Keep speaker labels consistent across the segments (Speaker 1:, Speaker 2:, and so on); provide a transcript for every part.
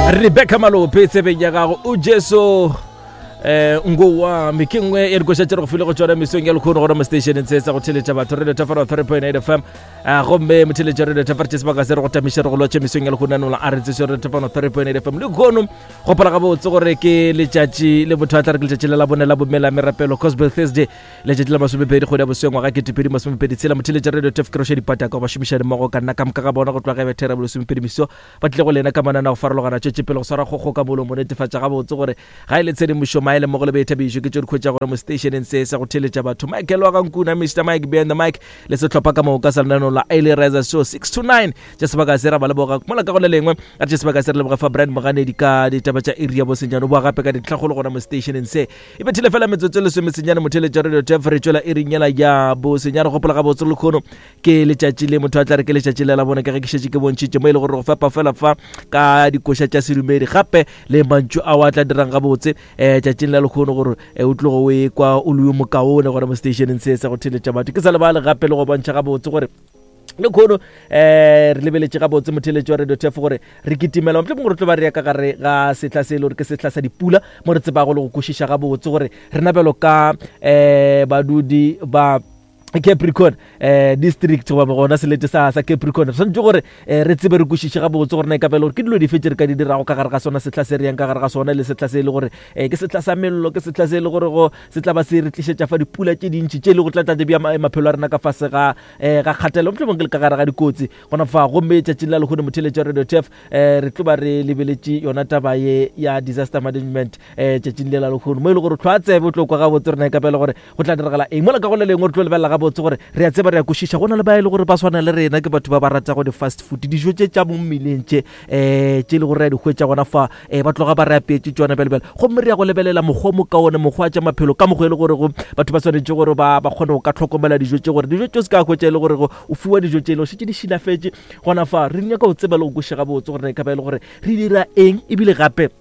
Speaker 1: Rebecca Malope tsebeng ya gago o Jesu eh ngowami ke nngwe ya dikoša tše re go file go tšona mesong ya lekgono gona mo stationeng se sa go theletša batho radio thafara 3.8 fm a gomme motheletša radio thafara tše sebaka se re go tamiše re go lotše mesong ya lekgono nanola a re tseso radio thafara 3.8 fm lekgono gopola gabotse gore ke letšatši le motho a tla re ke letšatši le la bone la bomela merapelo cosbel thursday letšatši la masomepedi kgwedi ya bosweng ngwaga ketepedi masomepedi tshela motheletša radio tef ke roše dipataka go bašomišane mmogo ka nna ka moka ga bona go tloga ge bethera bolesomepedi meso ba tlile go lena ka manana go farologana tšwetše pele go swara kgokgo ka molomo netefatša gabotse gore ga e le tshedimošo maele mmogo le boithabišo ke tšo di khwetša gore mo stationeng se sa go theletša batho michael wa gankuna mr mike behind the mic le sehlopha ka moka sa lenaneo la Early Riser Show 6 to 9 tša sebaka se ra ba leboga mola ka go le lengwe a tše sebaka se re leboga fa Brian Moganedi ka ditaba tša iri ya bosenyane o boa gape ka dintlhakgolo gona mo stationeng se e bethile fela metsotso e lesomesenyane motheletša radio tef re tšwela iring yela ya bosenyane gopola gabotse lekgono ke letšatši le motho a tla re ke letšatši le la bone ka ge ke šetše ke bontšhitše mo e le gore go fepa fela fa ka dikoša tša sedumedi gape le mantšu ao a tla dirang gabotse um tšatšing la lekgono gore eh, o tlogo o e kwa o le yo mokaone gore mo stationeng se sa go theletša batho ke sa lebale gape le go bontšha gabotse gore lekgono um re lebeletše gabotse motheletši wa radio tef gore re kitimela mohlomongwe gore tlo ba re ya ka gare ga sehla se e le gore ke sehla sa dipula mo re tsebago le go kwešiša gabotse gore rena bjalo ka um badudi ba Capricorn eh district goba gona selete sa sa Capricorn re swanetše gore eh, re tsebe re kwešiše gabotse gore na e ka ba e le gore ke dilo dife tše re ka di dirago ka gare ga sona sehla se re yang ka gare ga sona le sehla se e le gore eh, ke sehla sa mello ke sehla se e le gore go se tla ba se re tlišetša fa dipula tše dintši tše e le go tla tla di bea maphelo a rena ka fase ga eh, ga kgatelelo mohlomong ke le ka gare ga dikotsi gona fa gomme tšatšing la lehono motheletša radio tf eh, re tlo ba re lebeletše yona taba ye ya disaster management eh, tšatšing le la lehono mo e le gore tlhwa tsebe o tlo kwa gabotse rena e ka ba e le gore go tla diragala eng mola ka go le lengwe re tlo lebelela gabotse gore re a tseba re a kwešiša go na le ba e le gore ba swana le rena ke batho ba ba ratago di-fast food dijo tše tša mo mmeleng tše um tše e le gore re a di hwetša gona fa um ba tloga ba re apeetše tšona bjalebjale gomme re ya go lebelela mokgwa mo kaone mokgwa wa tša maphelo ka mokgwa e le gore go batho ba swanetše gore ba ba kgone go ka tlhokomela dijo tše gore dijo tše o se ka hwetša e le gore go o fiwa dijo tše e le gore šetše di šilafetše gona fa re nyaka go tseba le go kwešiša gabotse gore na e ka ba e le gore re dira eng ebile gape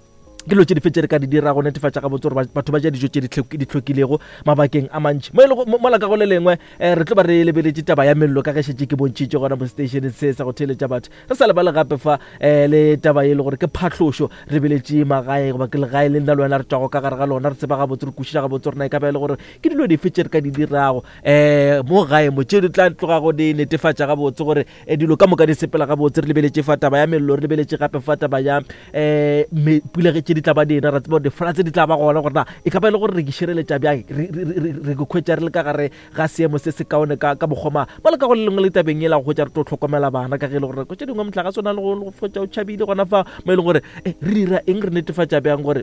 Speaker 1: ke dilo tše dife tše re ka di dira go netefatša gabotse gore batho ba ja dijo tše di hlwekilego mabakeng a mantši mo e lego mola ka go le lengwe um re tlo ba re lebeletše taba ya mello ka ge šetše ke bontšhitše gona mo stationeng se sa go theeletša batho re sa lebale gape fa um le taba e le gore ke phahlošo re lebeletše magae goba ke legae le nna le wena re tšwago ka gare ga lona re tseba gabotse re kwešiša gabotse gore na e ka ba e le gore ke dilo dife tše re ka di dirago um mo gae mo tše di tla tlogago di netefatša gabotse gore E, dilo ka moka di sepela gabotse. Re lebeletše fa taba ya mello, re lebeletše gape fa taba ya um pula ge tše di tla ba dina, ra tseba gore difloods di tla ba gona, gore na e ka ba e le gore re ke šireletša bjang, re ke khwetša re le ka gare ga seemo se se kaone ka ka mokgwa mang. Mola ka go le lengwe le tabeng e la go hwetša re tlo hlokomela bana, ka ge e le gore nako tše dingwe mohlagase o na le go fetša o tšhabile gona fa mo e leng gore re dira eng, re netefatša bjang gore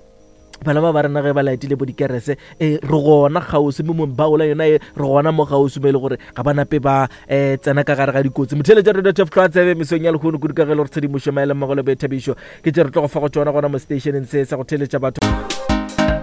Speaker 1: bana ba ba rena ge ba laetile bo dikerese e re gona kgauswi mo mong yona e re gona mo kgauswi mo e le gore ga ba nape ba um tsena ka gare ga dikotsi. Motheeletša radio tf tlhoa tsebe mesong ya lehono kudu ka ge e le gore tshedimošo maele mmogo le boithabišo ke tše re tlo go fa go tšona gona mo stationeng se sa go theeletša batho.